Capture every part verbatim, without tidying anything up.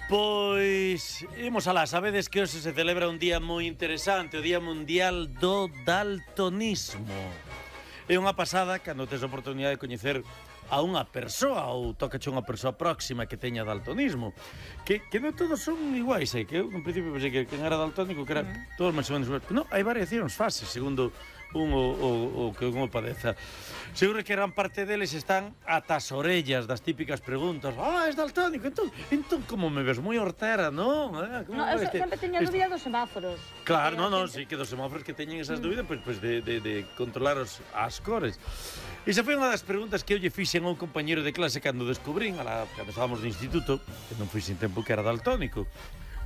Pois, imos alá, sabedes que hoxe se celebra un día moi interesante, o Día Mundial do Daltonismo. É unha pasada cando tes a oportunidade de coñecer a unha persoa ou tocache unha persoa próxima que teña daltonismo, que, que non todos son iguais, eh? Que eu, en principio, pensei que quen era daltónico, que era uh -huh. todos máis ou menos iguais. Non, hai variacións, fases, segundo un o, o, o que un o padeza. Seguro que gran parte deles están ata as orellas das típicas preguntas. Ah, es daltónico, entón, entón como me ves moi hortera, non? Eh? No, eu este, sempre teño a dúbida dos semáforos. Claro, non, non, sí, que dos semáforos que teñen esas mm. dúbidas, pois pues, pues de, de, de controlar os, as cores. Esa foi unha das preguntas que eu lle fixen a un compañero de clase cando descubrín, a la, cando estábamos no instituto, que non foi sin tempo que era daltónico.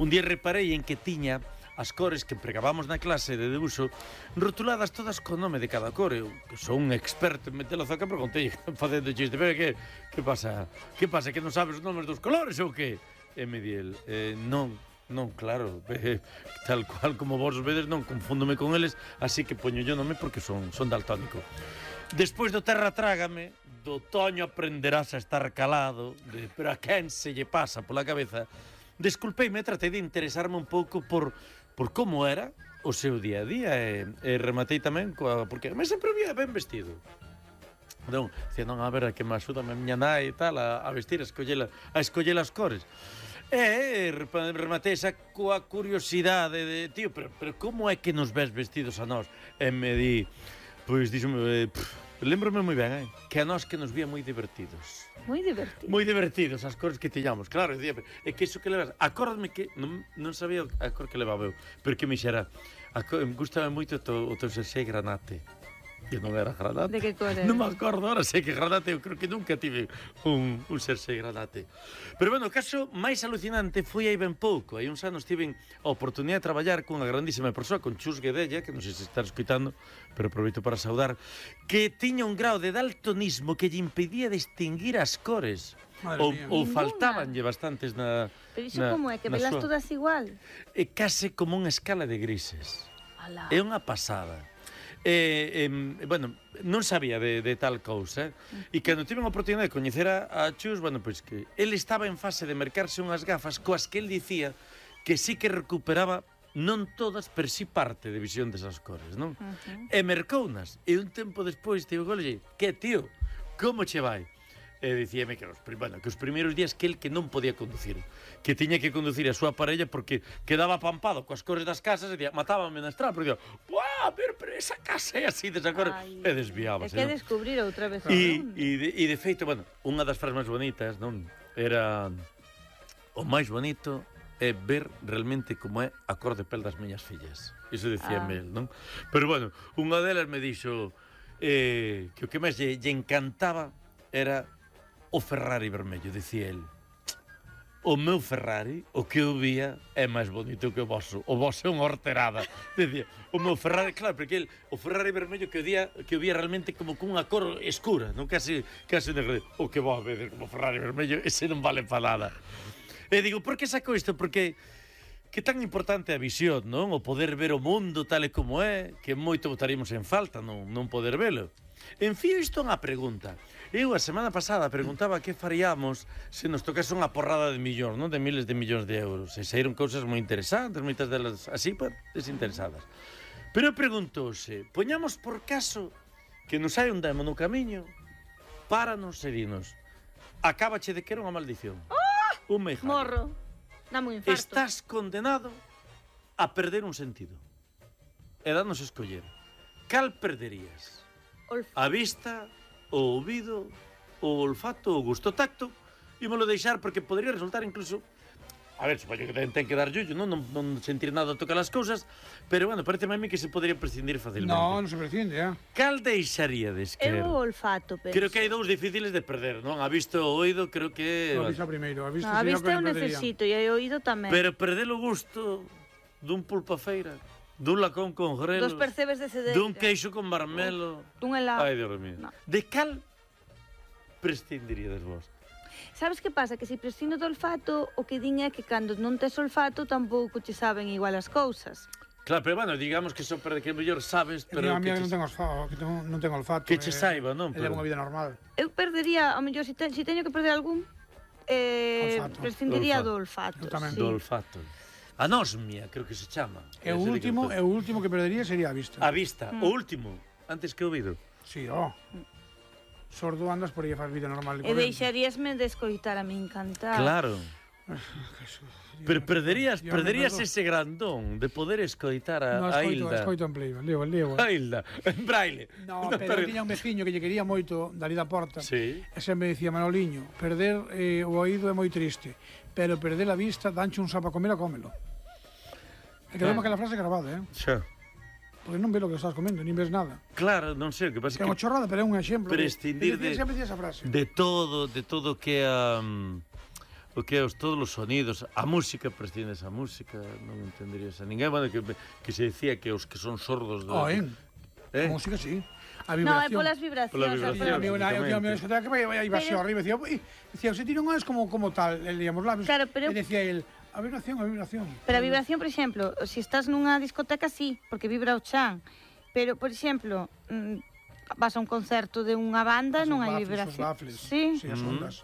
Un día reparei en que tiña as cores que empregábamos na clase de debuxo rotuladas todas co nome de cada cor. Eu sou un experto en meter a zoca, preguntei facendo chiste, pero que, que pasa? Que pasa, que non sabes os nomes dos colores ou que? E me di el, eh, non, non, claro, eh, tal cual como vos vedes, non confúndome con eles, así que poño yo nome porque son, son daltónico. Despois do Terra Trágame, do Toño aprenderás a estar calado, de, pero a quen se lle pasa pola cabeza, desculpeime, tratei de interesarme un pouco por por como era o seu día a día e, e rematei tamén coa, porque me sempre vía ben vestido. Non, dicía, non, a ver, a que me axuda a miña nai e tal a, a vestir, a escoller, a escoller as cores. E rematei esa coa curiosidade de, tío, pero, pero como é que nos ves vestidos a nós? E me di, pois, díxome, eh, lembro-me moi ben, eh, que a nós que nos vía moi divertidos. Moi divertidos. Moi divertidos as cores que tiñamos. Claro, dicía, é que iso que levas, acórdame que non, non sabía a cor que levaba eu, pero que me xera, me gustaba moito o teu, o teu xersei granate. Que non era granate. De que cor era? Non me acordo, ahora sei que granate, eu creo que nunca tive un, un xersei granate. Pero, bueno, o caso máis alucinante foi aí ben pouco. Hai uns anos tiven a oportunidade de traballar cunha grandísima persoa, con Chus Guedella, que non sei se está escutando, pero aproveito para saudar, que tiña un grau de daltonismo que lle impedía distinguir as cores. Ou, ou faltabanlle bastantes na... Pero iso como é? Que velas súa... todas igual? É case como unha escala de grises. Alá. É unha pasada. Eh, eh, bueno, non sabía de, de tal cousa, eh? E cando tive a oportunidade de coñecer a, a Chus, bueno, pois que ele estaba en fase de mercarse unhas gafas coas que el dicía que sí que recuperaba non todas, pero sí parte de visión desas cores, non? Uh -huh. E mercounas, e un tempo despois tive golle, que tío, como che vai? E dicíame que os, bueno, que os primeiros días que el que non podía conducir, que tiña que conducir a súa parella porque quedaba pampado coas cores das casas e dicía, matábame na estrada, porque dicía, ¡buah, pero, pero esa casa é así, desa cor, e desviábase. É que non? Descubrir outra vez. E, e, de, e de feito, bueno, unha das frases máis bonitas, non? Era o máis bonito é ver realmente como é a cor de pel das miñas fillas. Iso dicía ah. Mel, non? Pero bueno, unha delas me dixo eh, que o que máis lle, lle encantaba era o Ferrari vermello, dicía el. O meu Ferrari, o que eu vía, é máis bonito que o vosso. O vosso é unha horterada. Dicía, o meu Ferrari, claro, porque el, o Ferrari vermello que eu vía, que eu vía realmente como cunha cor escura, non casi, casi negro. O que vos vedes como Ferrari vermello, ese non vale para nada. E digo, por que saco isto? Porque que tan importante a visión, non? O poder ver o mundo tal e como é, que moito botaríamos en falta, non, non poder velo. Enfío isto unha pregunta. Eu a semana pasada preguntaba que faríamos se nos tocase unha porrada de millóns, non? De miles de millóns de euros. E saíron cousas moi interesantes, moitas delas así, pues, desinteresadas. Pero eu preguntouse, poñamos por caso que nos hai un demo no camiño, páranos e dinos, acábache de que era unha maldición. ¡Oh! Un meijallo. Morro. Dame un infarto. Estás condenado a perder un sentido. E danos escoller. Cal perderías? Olfato. A vista, o ouvido, o olfato, o gusto, o tacto, ímolo deixar porque podría resultar incluso, a ver, supoño que ten, ten que dar yullo, non, non, non sentir nada a tocar as cousas, pero, bueno, parece a mí que se podría prescindir facilmente. No, non se prescinde, ya. Cal deixaríades, creo? Eu o olfato, pero... Creo que hai dous difíciles de perder, non? A vista e o oído, creo que... No, a vista primeiro, a vista, no, a vista eu necesito, e o oído tamén. Pero perder o gusto dun pulpa feira, dun lacón con grelos, dos percebes de cedeira, dun queixo con marmelo, dun helado. Ai, Dios mío. No. De cal prescindiríades vos? Sabes que pasa? Que se prescindo do olfato, o que din é que cando non tes olfato tampouco che saben igual as cousas. Claro, pero bueno, digamos que só para que mellor sabes, pero a mí que non tengo olfato, que tengo, non tengo olfato. Que che saiba, non? Pero... É unha vida normal. Eu perdería, ao mellor, se, te, se teño que perder algún, eh, Olfato. prescindiría Olfato. do olfato. Eu tamén. sí. Do olfato. Anosmia, creo que se chama. E o Ese de que último, eu e o último que perdería sería a vista. A vista, o último, antes que o ouvido. Sí, oh. Sordo andas por aí e faz vida normal. E deixaríasme de escoitar a min cantar. Claro. Pero perderías, Dios, perderías me perdoa. ese grandón de poder escoitar a, No, a escoito, Hilda. escoito en play, leo, leo. A Hilda, en braille. No, pero eu tiña un veciño que lle quería moito dali da porta. Sí. E sempre dicía, Manoliño, perder eh, o oído é moi triste, pero perder a vista, danche un sapo a comer a cómelo. E quedou Ah. aquela frase grabada, eh? Xa. Porque non ves o que estás comendo, nin ves nada. Claro, non sei, o que pasa Que é é unha que chorrada, pero é un exemplo. prescindir Ele de- Sempre dicía esa frase. de todo, de todo o que é um, o que é os todos os sonidos, a música, prescindes a música, non entenderías a ninguén, bueno, que, que se decía que os que son sordos de, Oh, en. eh? A música, sí. A No, é vibración. polas vibracións. Pola é vibración. Tiña polas- mi una, eu tiña mi una discoteca que vai, vai, vai Pero- arriba, decía, "Ui", decía, se ti non és como, como tal, le liamos labios. Claro, pero- E decía el, a vibración, a vibración. Pero a vibración, por exemplo, se estás nunha discoteca, sí, porque vibra o chan. Pero, por exemplo, mm, vas a un concerto de unha banda, Os non hai baffles, vibración. Os baffles. Sí. Sí, as Mm. ondas.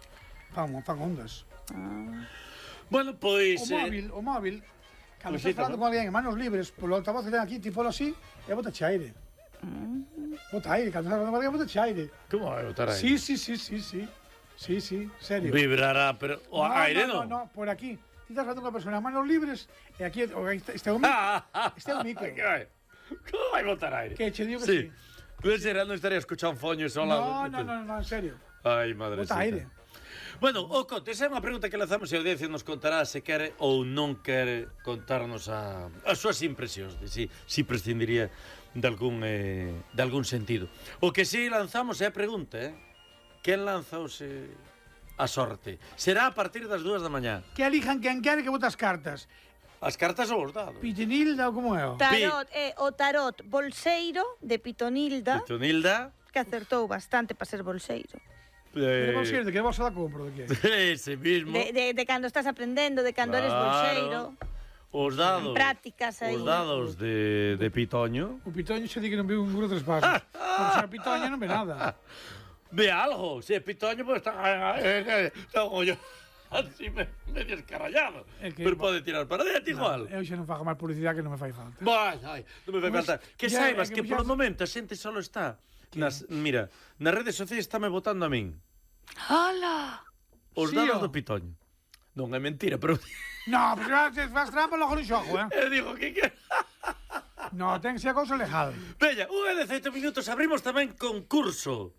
Fan, fan ondas. Ah. Bueno, pois... O móvil, o móvil, cando Pois sí, estás falando tamén. con alguén en manos libres, polo altavoz que ten aquí, ti polo así, e bota aire. Bota aire, cando estás falando con alguén, bota aire. Como vai botar aí? Sí, sí, sí, sí, sí. Sí, sí, serio. Vibrará, pero o No, aire no, non. no, no, por aquí. Ti estás falando con unha persona en manos libres, e aquí, o, este, este é un micro, Ah, ah, este é un micro. que vai? Como vai botar aire? Que che digo que sí. sí. Pues era, non estaría escuchando foños ao lado. No, no, no, no, en serio. Ai, madre Bota aire. Bueno, o Conte, esa é unha pregunta que lanzamos e a audiencia nos contará se quere ou non quere contarnos a, as súas impresións de si, si prescindiría de algún, eh, de algún sentido. O que si lanzamos é a pregunta, eh? Quen lanza ose a sorte? Será a partir das dúas da mañá. Que elijan quen quere que botas cartas. As cartas ou os dados? Pitinilda ou como é? o? Tarot, é o tarot bolseiro de Pitonilda, Pitonilda. que acertou bastante para ser bolseiro. Pero Eh, vos ser, de que bolsa da compro, de que? ese mismo. De, de, de cando estás aprendendo, de cando eres Claro. bolseiro. Os dados. Prácticas aí. Os dados de, de Pitoño. O pitoño xe di que non viu un guro tres pasos. Porque se a pitoña non ve nada. Ve algo. Se é Pitoño, pues está... Está como yo. Así me, medio escarallado. É que- Pero pode tirar para dentro igual. Eu xa non fago máis publicidade que non me fai falta. Vai, ai, non me vai Pues, faltar. Que ya, saibas é que que ya- polo momento a xente solo está nas, mira, nas redes sociais estáme votando a min. Hala! Os Sí, dados ó. do Pitoño. Non é mentira, pero No, porque vas, faz trampa logo non xogo, eh? eu digo que que No, ten que ser cousa legal. Veña, unha de dezaoito minutos abrimos tamén concurso.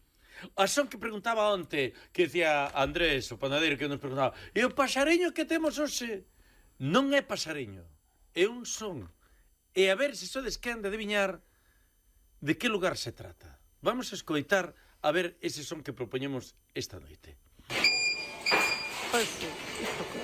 A son que preguntaba onte, que decía Andrés, o panadeiro, que nos preguntaba, e o paxareño que temos hoxe non é paxareño, é un son. E a ver se sodes quen de adiviñar de que lugar se trata. Vamos a escoitar a ver ese son que propoñemos esta noite. Pois sí, isto que